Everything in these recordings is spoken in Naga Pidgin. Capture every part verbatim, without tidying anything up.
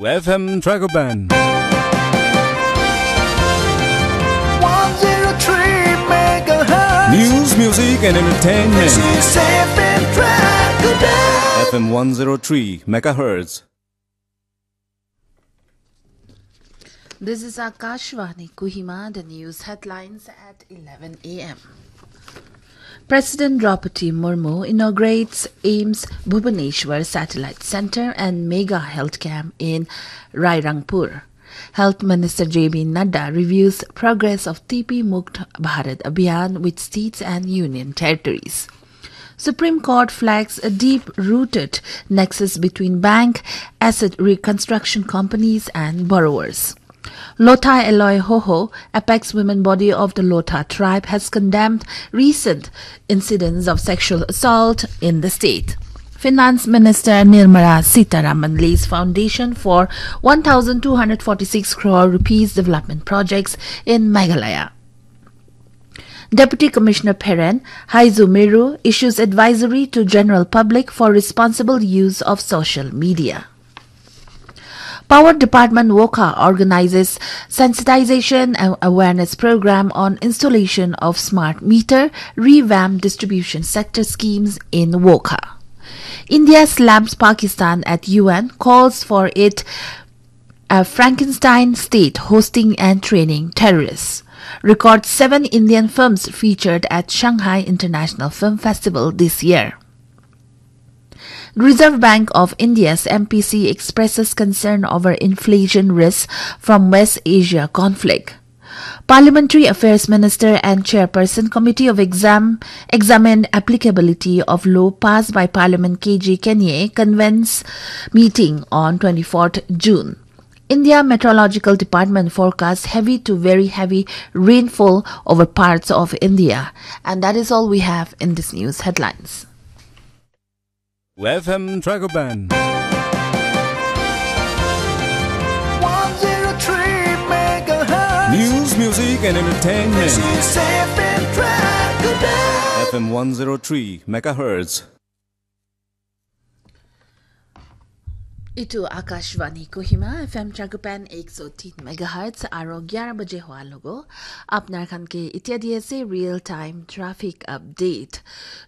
F M Tragoban. one zero three megahertz. News, music, and entertainment. This is F M Tragoban. F M one zero three megahertz. This is Akashvani Kohima. The news headlines at eleven a m. President Draupadi Murmu inaugurates AIIMS Bhubaneswar Satellite Center and Mega Health Camp in Rairangpur. Health Minister J B Nadda reviews progress of T B Mukt Bharat Abhiyan with states and union territories. Supreme Court flags a deep-rooted nexus between bank, asset reconstruction companies and borrowers. Lotha Eloi Hoho, apex women body of the Lotha tribe, has condemned recent incidents of sexual assault in the state. Finance Minister Nirmala Sitharaman lays foundation for one thousand two hundred forty-six crore rupees development projects in Meghalaya. Deputy Commissioner Pheren Haizu Meru issues advisory to general public for responsible use of social media. Power Department Wokha organizes sensitization and awareness program on installation of smart meter, revamp distribution sector schemes in Wokha. India slams Pakistan at U N, calls for it a Frankenstein state hosting and training terrorists. Record seven Indian films featured at Shanghai International Film Festival this year. Reserve Bank of India's M P C expresses concern over inflation risks from West Asia conflict. Parliamentary Affairs Minister and Chairperson Committee of Exam examined applicability of law passed by Parliament K J Kanye convenes meeting on twenty-fourth June. India Meteorological Department forecasts heavy to very heavy rainfall over parts of India. And that is all we have in this news headlines. F M Tragoban. one zero three megahertz. News, music, and entertainment. This is F M Tragoban. F M one zero three megahertz. Itu Akashvani Kohima, F M Tragoban ek so tin megahertz, aro gyara baje hoa logo. Apnar khan ke itya di ase real time traffic update.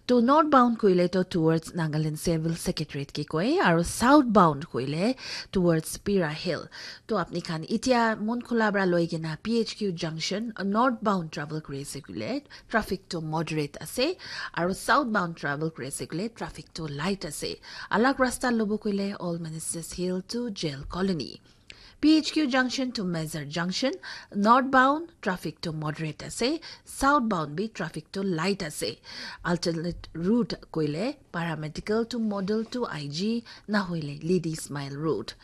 To northbound koile to towards Nagaland Civil Secretariat ke koi, aro southbound koile towards Pira Hill. To apni khan itya Munkhula bra loi kena P H Q junction, northbound travel kuri ase koile traffic to moderate ase, aro southbound travel kuri ase koile traffic to light ase. Alag rasta lobo koile All Ministers Hill to Jail Colony. P H Q junction to Mezar junction, northbound traffic to moderate ase, southbound bi traffic to light ase. Alternate route koile Paramedical to Model to I G, nahoile Ladies Mile Road.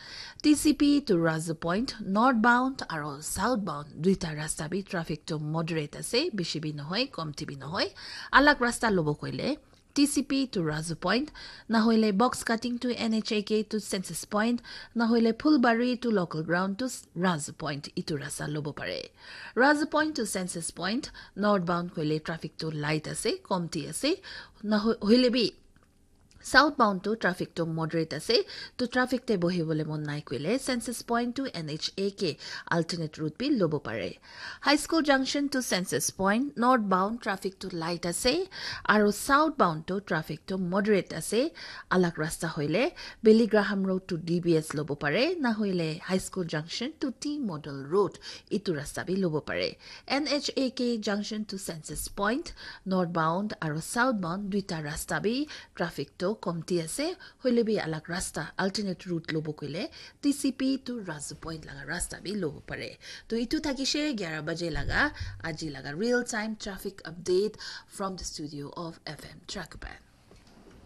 T C P to Razu Point, northbound aro southbound duita rasta bi traffic to moderate ase, bishi bi nohoi, komti bi nohoi. Alag rasta lobo koile T C P to Razu Point, nahoile Box Cutting to N H A K to Census Point, nahoile Phulbari to Local Ground to Razu Point, itu rasta lobo pare. Razu Point to Census Point, northbound koile traffic to light ase, komti ase, naho-, hoile bi southbound to traffic to moderate ase, to traffic te bohi bole mon nai koile Census Point to N H A K alternate route bi lobo pare. High School Junction to Census Point, northbound traffic to light ase, aro southbound to traffic to moderate ase. Alag rasta hoile Billy Graham Road to D B S lobo pare, na hoile High School Junction to T Model Road, itu rasta bi lobo pare. N H A K Junction to Census Point, northbound aro southbound duita rasta bi traffic to komti ase, hoile bi alag rasta, alternate route lobo koile T C P to Razu Point laga rasta bi lobo pare. To itu thakishe gyara baje laga, aji laga real time traffic update from the studio of F M Trackpad.